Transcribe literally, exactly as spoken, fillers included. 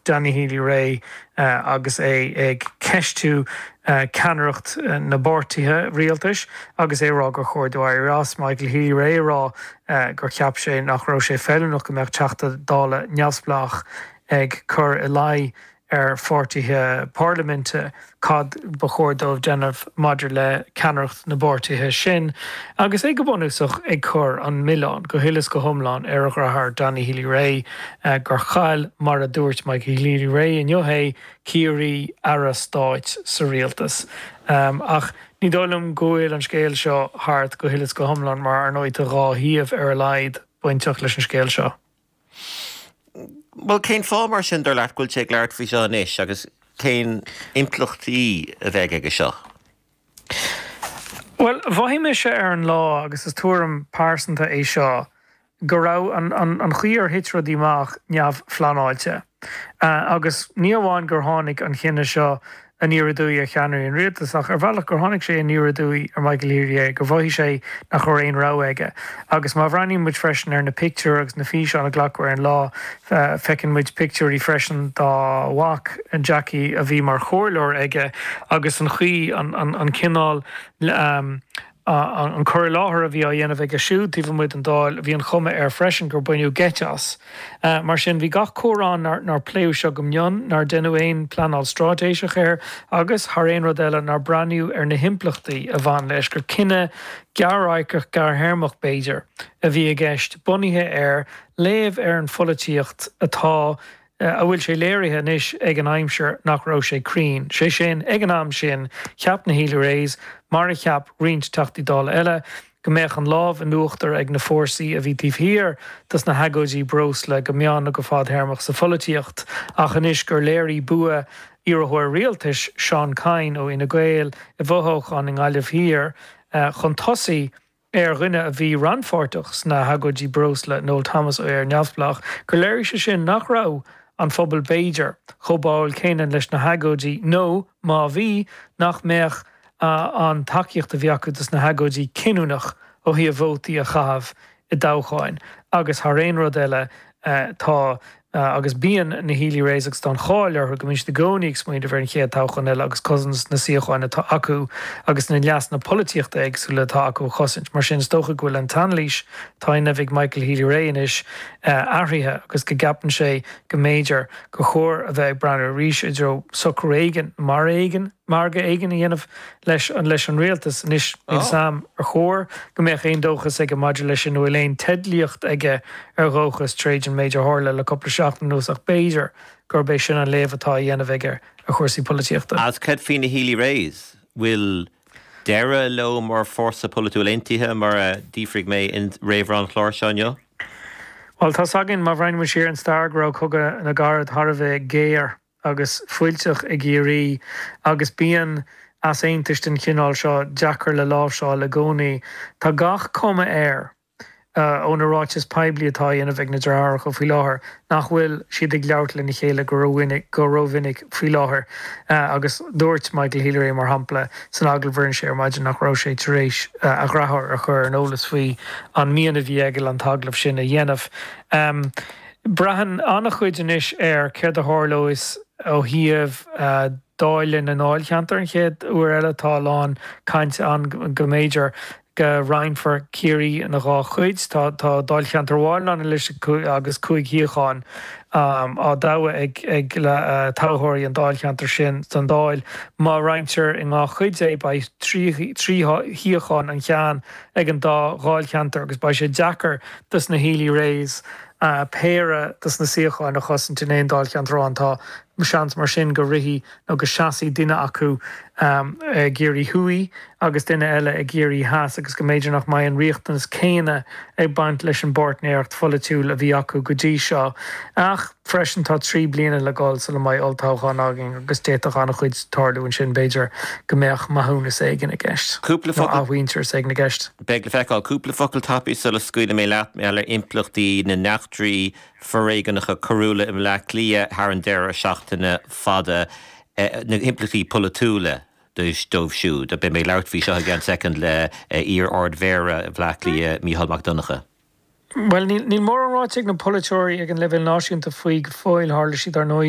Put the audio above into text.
Danny Healy-Rae agus é ag ceistiú ceannaireacht na bpáirtithe rialtais agus é rá gur chóir dó éirí as Michael Healy-Rae rá gur cheap sé nach raibh sé feiliúnach go mbeadh Teachta Dála neamhspleách ag cur ina luí ar pháirtithe parlaiminte cad ba chóir dóibh déanamh maidir le ceannaireacht na bpáirtithe sin, agus é go bunúsach ag cur an milleán go huile is go hiomlán ar a dheartháir Danny Healy-Rae gur chaill mar a dúirt Michael Healy-Rae inniu é Ciarraí aire stáit sa rialtas. Um, ach ní dóigh liom go bhfuil an scéal seo thart go huile is go hiomlán mar ar ndóigh tá dhá thaobh ar a laghad bainteach leis an scéal seo. Well cén fáth mar sin dar leat go bhfuil sé ag labhairt faoi seo anois agus cén impleachtaí a bheidh aige seo. Well mhothaigh mise ar an lá agus is tuairim pearsanta é seo go raibh an, an, an chaoi ar thit rudaí amach neamhphleanáilte. Uh, agus ní amháin gur tháinig an cinneadh seo aniar aduaidh ar cheannairí an rialtais ach ar bhealach gur tháinig sé aniar aduaidh ar Michael Healy gur mhothaigh sé nach raibh aon rogha aige. Agus má bhreathnaíonn muid freisin ar na pictiúir agus na físeáin a glacadh ar an lá feiceann muid pictiúirí freisin dá mhac Jackie a bhí mar chomhairleoir aige agus an chaoi an, an, an cineál um, an cur i láthair a bhí á dhéanamh aige siúd taobh amuigh den Dáil bhí an chuma air freisin gur baineadh geit as. Uh, mar sin bhí gach comhrá nár, nár pléadh seo go mion nár deineadh aon pleanáil straitéiseach air agus thar aon rud eile nár breathnaíodh ar na himpleachtaí a bhain leis gur cinneadh gearr-radharcach gearrthéarmach b'fhéidir a bhí i gceist bunaithe ar léamh ar an pholaitíocht atá a bhfuil sé léirithe anois ag an aimsir nach raibh sé cruinn. Sé sin ag an am sin cheap na Healy-Raes mar a cheap roinnt Teachtaí Dála eile go mbeadh an lámh in uachtar ag na fórsaí a bhí taobh thiar dos na hagóidí breosla go meán nó go fadtéarmach sa pholaitíocht ach anois gur léirigh bua iarrthóir rialtais Seán Kyne ó Fhine Gael i bhfothoghchán i nGaillimh Thiar chun tosaigh ar dhuine a bhí rannpháirteach sna hagóidí breosla Noel Thomas ó Éire Neamhspleách gur léirigh sé sin nach raibh an phobal b'fhéidir chomh báúil céanna leis na hagóidí nó má bhí nach mbeadh an tacaíocht a bhí acu dos na hagóidí cinniúnach ó thaobh vótaí a chaitheamh i dtoghcháin agus thar aon rud eile tá agus bíonn na Healy-Raes agus tá an cháil orthu go mbíonn siad i gcónaí ag smaoineamh ar an chéad toghchán eile agus cosaint na suíocháin atá acu agus na leasanna polaitíochta éagsúla atá acu a chosaint. Mar sin is dócha go bhfuil an t-anailís atá á dhéanamh ag Michael Healy-Rae anois athraithe agus go gceapann sé go mb'fhéidir gur chóir a bheith ag breathnú arís i dtreo socrú éigin mar éigin margadh éigin a dhéanamh leis an leis an rialtas anois níl a fhios agam ar chóir go mbeadh aon dóchas aige maidir leis sin nó bhfuil aon teidlíocht aige ar dhóchas tríd an méid a tharla le cúpla seachtain anuas ach b'fhéidir gurb é sin an léamh atá á dhéanamh aige ar chúrsaí polaitíochta. As cad faoi na Healy-Raes bhfuil deireadh leo mar fórsa polaitiúil aontaithe mar a d'fhiafraigh mé in réamhrá an chláir seo inniu? Well tá againn má bhreathnaíonn siar an stair go raibh cogadh na gcarad thar a bheith géar agus fuilteach i gCiarraí agus bíonn easaontais den chineál seo deacair le láimhseáil i gcónaí. Tá gach cuma air ó na ráitis poiblí atá á dhéanamh ag na deartháireacha faoi láthair nach bhfuil siad ag labhairt lena chéile go rómhinic go rómhinic faoi láthair agus dúirt Michael Healy-Rae mar shampla san agallamh a rinne sé ar maidin nach raibh sé tar éis a dheartháir a chur ar an eolas faoi an mian a bhí aige an t-agallamh sin a dhéanamh. Um, Braitheann an-chuid anois ar céard a tharlós ó thaobh dáileadh na ndáilcheantar an chéad uair eile tá a lán cainte ann go mb'fhéidir go roinnfear Ciarraí ina dhá chuid tá tá dáilcheantar amháin ann anois agus cúig shuíochán um, á dtoghadh ag ag le uh, toghthóirí an dáilcheantar sin don Dáil má roinntear i dhá chuid é beidh trí shuíochán an ceann ag an dá dháilcheantar agus beidh sé deacair dos na Healy-Raes uh, péire dos na suíocháin a chosaint in aon dáilcheantar amháin tá seans mar sin go rithfidh nó go seasfaidh duine acu um, i gCiarraí Thuaidh agus duine eile i gCiarraí Theas agus go mb'fhéidir nach mbeidh an riachtanas céanna ag baint leis an bpáirtnéireacht pholaitiúil a bhí acu go dtí seo. Ach freisin tá trí bliana le dul sula mbeidh olltoghchán againn agus d'fhéadfadh an-chuid tarlú ansin b'fhéidir go mbeadh maithiúnas éigin i gceist. Cúpla focal athmhuintearas éigin i gceist. Beidh le feiceáil cúpla focal tapaidh sula scaoilfidh mé leat mé ar impleachtaí na n-eachtraí foréigneacha coiriúla i mBleá Cliath thar an deireadh seachtaine fada na himpleachtaí polaitiúla dóibh siúd, a beidh mé ag labhairt faoi seo i gceann soicind le iar-Ardmhéara Bhleá Cliath Mícheál Mac Donncha. Well níl mórán ráite ag na polaiteoirí ag an leibhéal náisiúnta faoi go fóill tharla siad ar ndóigh